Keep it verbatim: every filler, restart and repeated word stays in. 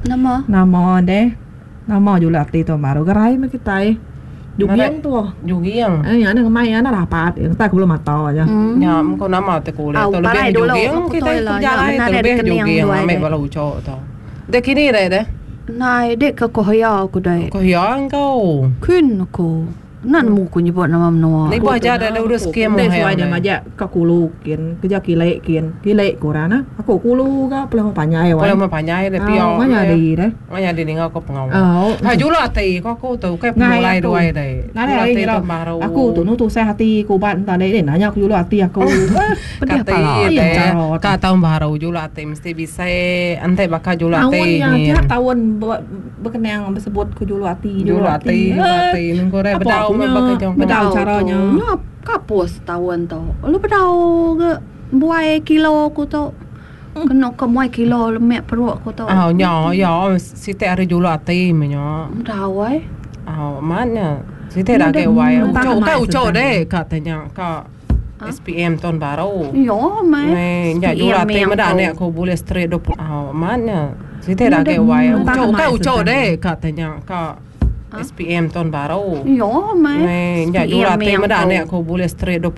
Nama? Nama deh? Nama juluk ati taun baru gerai meh kitai. Juging tu. Juging. Eh nya ngemai nya rapat entai ke bulu mata aja. Nya mengko nama te kulit tu lebih juging kitai ke bejalai tu lebih juging ambi bala ucho tu. Deh kini deh deh. Nai dek ke kohya ku deh. Kohya engkau. Kin ku. Enda nemu ku nyebut nama menua. Nibuh aja deh udah skim Deh suai nya majak ka kulu kin keja kile kin. Kile ku orang nah. Aku kulu ga pulai rumah panjai wai. Pulai rumah panjai deh pia. Au nyadi deh. Nyadi ninga ko pengawa. Ha juluk ati ko aku tu ukai pemulai duai deh. Nadai ari ngira aku tu nu tusah ati ku ubat enta deh nanya ku juluk ati aku. Pedih pala. Ka taun baru juluk ati mesti bisi enti baka juluk ati nyin. Taun nya tiap taun bekenang besebut ku juluk ati juluk ati. Juluk ati nengku deh bedau meh baka jong. Bedau cara nya. Nya kapus taun tu. Lalu bedau ga buai kilo ku tu. Kenu ke muai kilo lemek perut ku tu. Au nya ya siti ari juluk ati meh nya. Bedau ai. Au amat nya. Siti da agi wai uchu ukai uchu deh ka te nya ka S P M taun baru. Ya meh. Nya juluk ati meda anek ku bulih straight dua puluh. Au amat nya. Siti da agi wai uchu ukai uchu deh ka te nya ka S P M taun baru. Ya meh. Nya juluk ati meda anek ku bulih straight dua puluh.